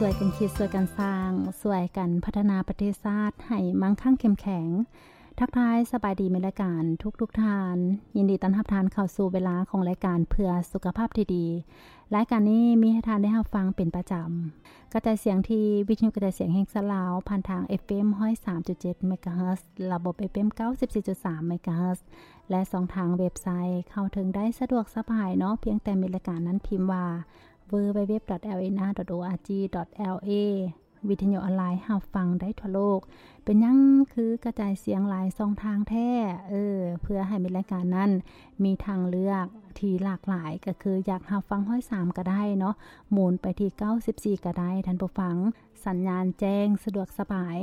ຊ່ວຍກັນຄິດ ຊ່ວຍກັນສ້າງ ຊ່ວຍກັນພັດທະນາປະເທດຊາດໃຫ້ມັ່ງຄັ່ງເຂັ້ມແຂງ. ທັກທາຍສະບາຍດີມິດລາຍການທຸກໆທ່ານ, ຍິນດີຕ້ອນຮັບທ່ານເຂົ້າສູ່ເວລາຂອງລາຍການເພື່ອສຸຂະພາບທີ່ດີ. ລາຍການນີ້ມີໃຫ້ທ່ານໄດ້ຮັບຟັງເປັນປະຈຳ, ກະຈາຍສຽງທີ່ວິທະຍຸກະຈາຍສຽງແຫ່ງຊາດລາວ ຜ່ານທາງ ເອຟເອັມ ຮ້ອຍສາມຈຸດເຈັດ ເມກາເຮີດ, ລະບົບ ເອຟເອັມ ເກົ້າສິບສີ່ຈຸດສາມ ເມກາເຮີດ ແລະ ຊ່ອງທາງເວັບໄຊ. ເຂົ້າເຖິງໄດ້ສະດວກສະບາຍເນາະ, ພຽງແຕ່ມິດລາຍການນັ້ນພິມວ່າ ดัບເບິນຢູດັບເບິນຢູດັບເບິນຢູ ດອດ ໂອອາຈີ ດອດ ແອລເອ. ວິທະຍຸອອນລາຍຮັບຟັງໄດ້ທົ່ວໂລກ. ເປັນຫຍັງຄືກະຈາຍສຽງຫຼາຍຊ່ອງທາງແທ້? ເອີ ເພື່ອໃຫ້ມິດລາຍການນັ້ນມີທາງເລືອກທີ່ຫຼາກຫຼາຍ, ກໍຄືຢາກຮັບຟັງຮ້ອຍສາມກໍໄດ້ເນາະ, ໝູນໄປທີ່ເກົ້າສິບສີ່ກໍໄດ້, ທ່ານຜູ້ຟັງ. ສັນຍານແຈ້ງສະດວກສະບາຍ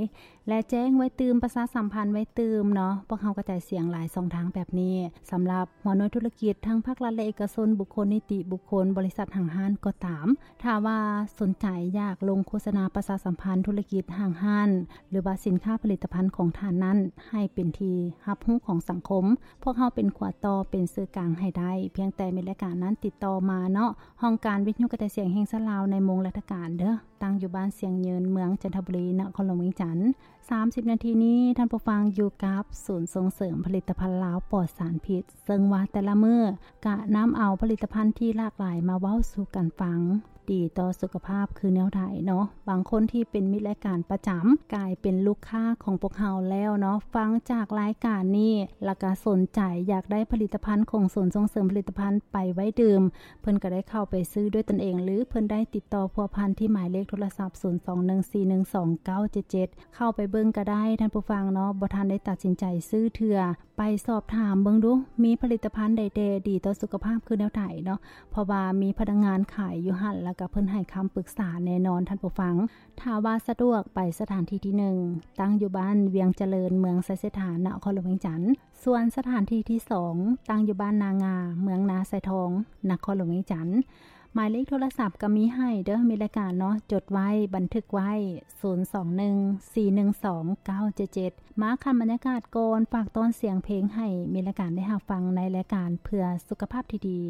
ແລະ ແຈ້ງໄວ້ຕື່ມ, ປະຊາສຳພັນໄວ້ຕື່ມເນາະ. ພວກເຮົາກະຈາຍສຽງຫຼາຍຊ່ອງທາງແບບນີ້ ສຳລັບຫົວໜ່ວຍທຸລະກິດ ທັງພາກລັດ ແລະ ເອກະຊົນ, ບຸກຄົນ, ນິຕິບຸກຄົນ, ບໍລິສັດ, ຫ້າງຮ້ານກໍຕາມ. ຖ້າວ່າສົນໃຈຢາກລົງໂຄສະນາປະຊາສຳພັນທຸລະກິດ, ຫ້າງຮ້ານ ຫຼືວ່າສິນຄ້າຜະລິດຕະພັນຂອງທ່ານນັ້ນ ໃຫ້ເປັນທີ່ຮັບຮູ້ຂອງສັງຄົມ, ພວກເຮົາເປັນຂົວຕໍ່, ເປັນສື່ກາງໃຫ້ໄດ້. ພຽງແຕ່ມິດລາຍການນັ້ນຕິດຕໍ່ມາເນາະ. ຫ້ອງການວິທະຍຸກະຈາຍສຽງແຫ່ງຊາດລາວໃນໂມງລັດຖະການເດີ້, ຕັ້ງຢູ່ບ້ານຊຽງຍືນ, ເມືອງຈັນທະບູລີ, ນະຄອນຫຼວງວຽງຈັນ. ສາມສິບນາທີນີ້ ທ່ານຜູ້ຟັງຢູ່ກັບສູນສົ່ງເສີມຜະລິດຕະພັນລາວປອດສານພິດ, ເຊິ່ງວ່າແຕ່ລະມື້ກະນຳເອົາຜະລິດຕະພັນທີ່ຫຼາກຫຼາຍມາເວົ້າສູ່ກັນຟັງ. ດີຕໍ່ສຸຂະພາບຄືແນວໃດເນາະ? ບາງຄົນທີ່ເປັນມິດລາຍການປະຈຳ ກາຍເປັນລູກຄ້າຂອງພວກເຮົາແລ້ວເນາະ, ຟັງຈາກລາຍການນີ້ ລະກະສົນໃຈຢາກໄດ້ຜະລິດຕະພັນຂອງສູນສົ່ງເສີມຜະລິດຕະພັນໄປໄວ້ດື່ມ, ເພິ່ນກໍໄດ້ເຂົ້າໄປຊື້ດ້ວຍຕົນເອງ ຫຼື ເພິ່ນໄດ້ຕິດຕໍ່ພົວພັນທີ່ໝາຍເລກໂທລະສັບ ສູນສອງໜຶ່ງສີ່ໜຶ່ງສອງເກົ້າເຈັດເຈັດ. ເຂົ້າໄປເບິ່ງກໍໄດ້ ທ່ານຜູ້ຟັງເນາະ, ບໍ່ທັນໄດ້ຕັດສິນໃຈຊື້ເທື່ອ. ໄປສອບຖາມເບິ່ງດູ, ມີຜະລິດຕະພັນໃດແດ່ ດີຕໍ່ສຸຂະພາບຄືແນວໃດເນາະ, ເພາະວ່າມີພະນັກງານຂາຍຢູ່ຫັ້ນ ແລ້ວກໍເພິ່ນໃຫ້ຄຳປຶກສາແນ່ນອນ ທ່ານຜູ້ຟັງ. ຖ້າວ່າສະດວກ, ໄປສະຖານທີ່ທີໜຶ່ງ ຕັ້ງຢູ່ບ້ານວຽງຈະເລີນ, ເມືອງໄຊເສດຖາ, ນະຄອນຫຼວງວຽງຈັນ. ສ່ວນສະຖານທີ່ທີສອງ ຕັ້ງຢູ່ບ້ານນາງາ, ເມືອງນາຊາຍທອງ, ນະຄອນຫຼວງວຽງຈັນ. ໝາຍເລກໂທລະສັບກໍມີໃຫ້ເດີ້ ມິດລາຍການເນາະ, ຈົດໄວ້, ບັນທຶກໄວ້ ສູນສອງໜຶ່ງສີ່ໜຶ່ງສອງເກົ້າເຈັດເຈັດ. ມາຂັ້ນບັນຍາກາດກ່ອນ, ຝາກຕ້ອນສຽງເພງໃຫ້ມິດລາຍການໄດ້ຮັບຟັງໃນລາຍການເພື່ອສຸຂະພາບທີ່ດີ.